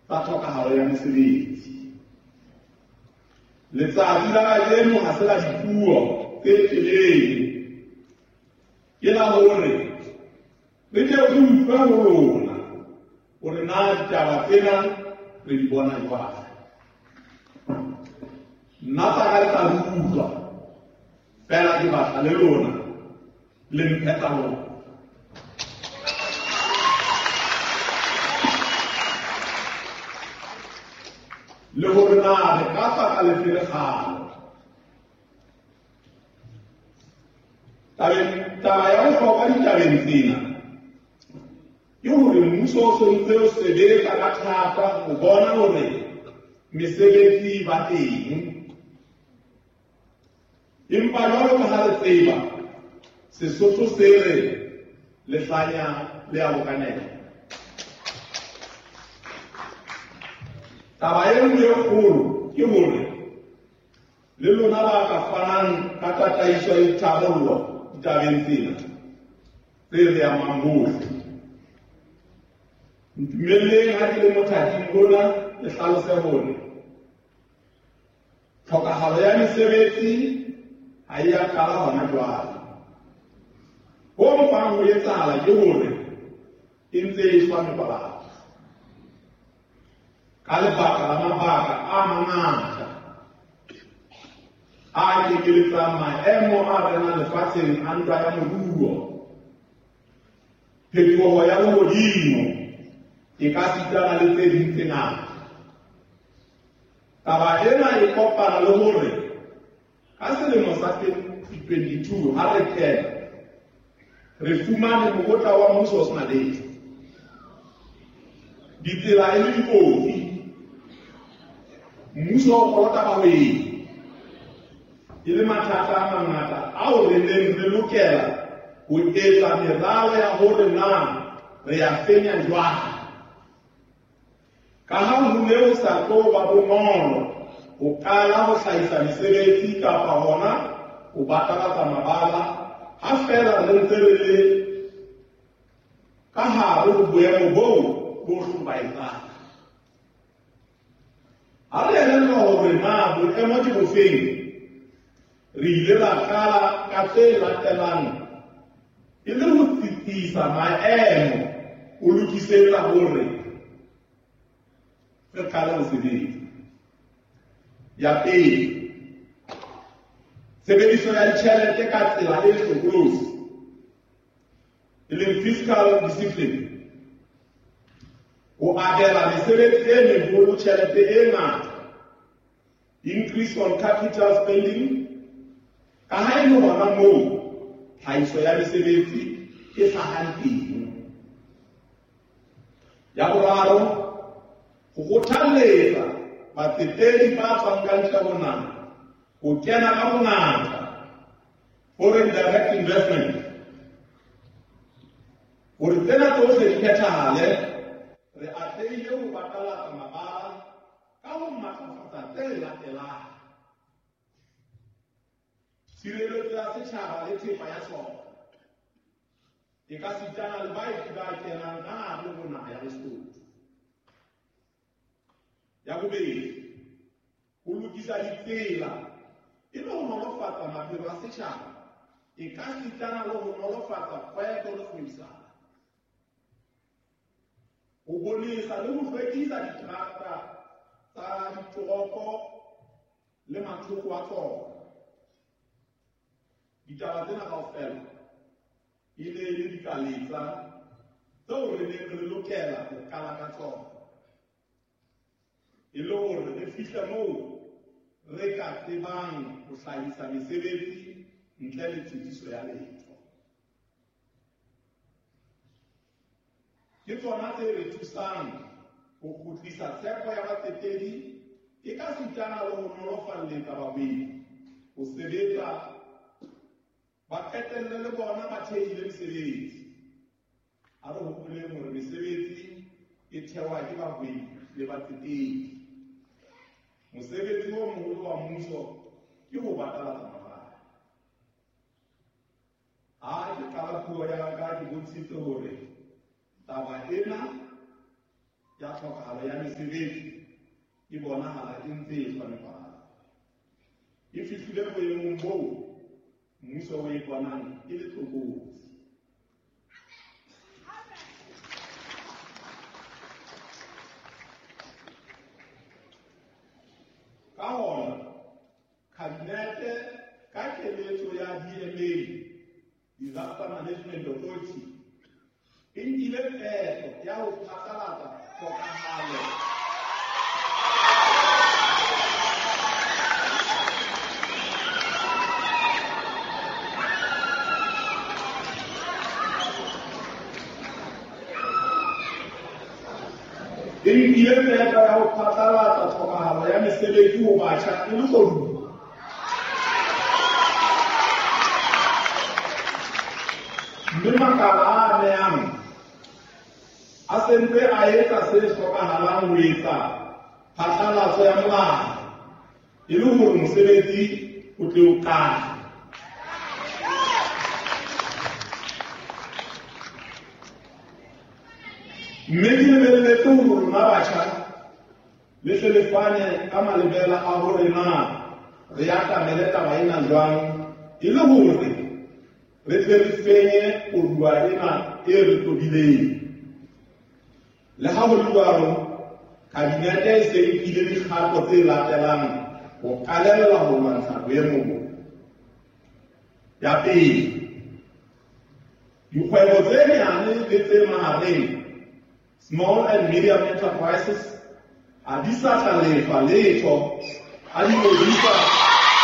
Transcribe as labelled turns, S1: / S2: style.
S1: tsa tlhokahalo ya mesebetsi. Letsatsi la kajeno ha se la dipuo tse telele, ke la hore re tle re utlwe ho lona hore na ditaba tsena re di bona jwang. Nna tsa ka le tla di utlwa, fela ke batla le lona le mphe tsa lona. Le hore na re ka tswa ka lefe lekgalo. Taba ya bohlokwa ditabeng tsena ke hore mmuso o sontse o sebetsa ka thata ho bona hore mesebetsi e ba teng. Empa jwalo ka ha re tseba, Sesotho se re lehlanya le a bokanela. Taba e nngwe e kgolo ke hore le lona ba ka fanang ka tataiso ya ditharollo ditabeng tsena tse re amang bohle. Ntumelleng ha ke le mothating ona ke hlalose hore tlhokahalo ya mesebetsi ha e a qala hona jwale. Ho mpang ho etsahala ke hore e ntse e shwa mebalabala ka lebaka la mabaka a mangata a kekeletsang maemo a renang lefatsheng a ntwa ya moruo, phetoho ya lehodimo e ka sitana le tse ding tse ngata. Taba ena e kopana le hore ka selemo sa 2022 ha re kena re fumane mokotla wa mmuso o sena letho, ditsela e le dikotsi, mmuso o kolota bahwebi, e le mathata a mangata ao re neng re lokela ho etsa meralo ya hore na re ya fenya jwang. Ka ha ho ne ho sa tlo ba bonolo ho qala ho hlahisa mesebetsi kapa hona ho batalatsa mabala ha feela re ntse re le ka hare ho boemo boo bo hlobaetsang. Ha re elellwa hore na boemo ke bofeng, re ile ra qala ka tse latelang e le ho tsitsisa maemo ho lokisetsa hore re qale ho sebetsa. Ya pele, tshebediso ya ditjhelete ka tsela e hlokolosi, e leng fiscal discipline, ho abela mesebetsi e meholo tjhelete e ngata, increase on capital spending, ka ha e le hona moo tlhahiso ya mesebetsi e hlahang teng. Ya boraro, ho kgothalletsa batsetedi ba tswang ka ntle ho naha ho kena ka bongata, foreign direct investment, hore tsena tsohle di phethahale, re atlehile ho batalatsa mabala ka ho matlafatsa tse latelang: tshireletso ya setjhaba le thepa ya sona, e ka sitana le baeti ba kenang ka hare ho naha ya Lesotho. Ya bobedi, ho lokisa ditsela e le ho nolofatsa maphelo a setjhaba, e ka sitana le ho nolofatsa kgwebo le kgwebisano, ho bonesa le ho hlwekisa diterata tsa ditoropo le mathoko a tsona. Ditaba tsena kaofela e ne e le dikaletsa tseo re neng re lokela ho qala ka tsona e le hore re fihle moo re ka tsebang ho hlahisa mesebetsi ntle le tshitiso ya letho. Ke tsona tse re thusang ho kgutlisa tshepo ya batsetedi e ka sitana le ho nolofalletsa bahwebi ho sebetsa, ba qetelle le bona ba thehile mesebetsi. Ha re hopoleng hore mesebetsi e thewa ke bahwebi le batsetedi. Mosebetsi o moholo wa mmuso ke ho batalatsa mabala. Ha ke qala puo ya ka, ke bontshitse hore taba ena ya tlhokahalo ya mesebetsi e bonahala e ntse e hlonephala. E fihlile boemong boo mmuso o e bonang e le tlokotsi. Ka hona, Kabinete ka keletso ya DMA, Disaster Management Authority, e nkile qeto ya ho phatlalatsa tlhokahalo e nkile qeto ya ho phatlalatsa tlhokahalo ya mesebetsi ho batjha e le koduwa. Mme makala a amehang a sentse a etsa se hlokahalang ho etsa phatlalatso ya molao e le hore mosebetsi o tle o qale. Mme ke lebelletse hore rona batjha le hle le fane ka malebela a hore na re atamele taba ena jwang e le hore re tle re fenye koduwa ena e re tobileng. Le ha ho le jwalo, Kabinete e se nkile dikgato tse latelang ho qalella ho lwantsha boemo bo. Ya pele, dikgwebo tse nyane le tse mahareng, small and medium enterprises, ha di sa tla lefa letho ha di ngodisa.